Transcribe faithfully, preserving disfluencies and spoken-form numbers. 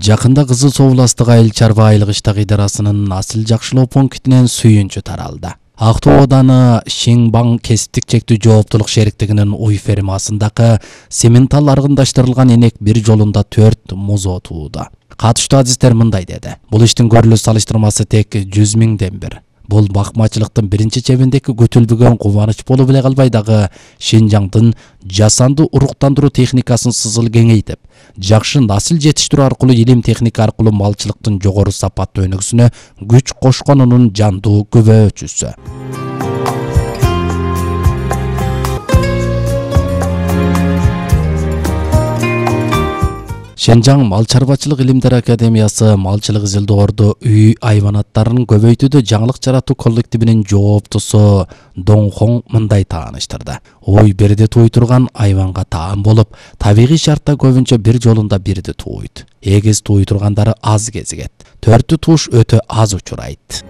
Жакында Кызыл Суу областык айыл чарба айылгычтык идарасынын асыл жакшылоо пунктинен сүйүнчү таралды. Актоо ауданы Шеңбаң кесиптик чектүү жооптулук шериктигинин уй фермасындагы сементал аргындаштырылган энек бир жолунда төрт музоо тууда. Катыштуу адистер мындай деди: бул иштин көрүлүү салыштырмасы тек жүз миңден бир. Бул бакмачылыктын биринчи чебиндеги көтөлбөгөн кубаныч болуп эле калбай дагы Шинжаңдын жасанды уруктандыруу техникасын сызыл кеңейтип, жакшы насыл жетиштирүү аркылуу илим техника аркылуу малчылыктын жогору сапаттуу өнүгүүсүнө күч кошконунун жандуу күбөөчүсү. Шенжаң Мал чарбачылык илимдер академиясы малчылык изилдоорду үй айванаттарын көбөйтүүдө жаңылык жаратуу коллективинин жооптусу Доңхон мындай тааныштырды. Ой бирди туй турган айванга таан болуп, табигый шартта көбүнчө бир жолунда бирди тууйт. Эгиз туй тургандары аз кезигет. Төртү туш өтө аз учурайт.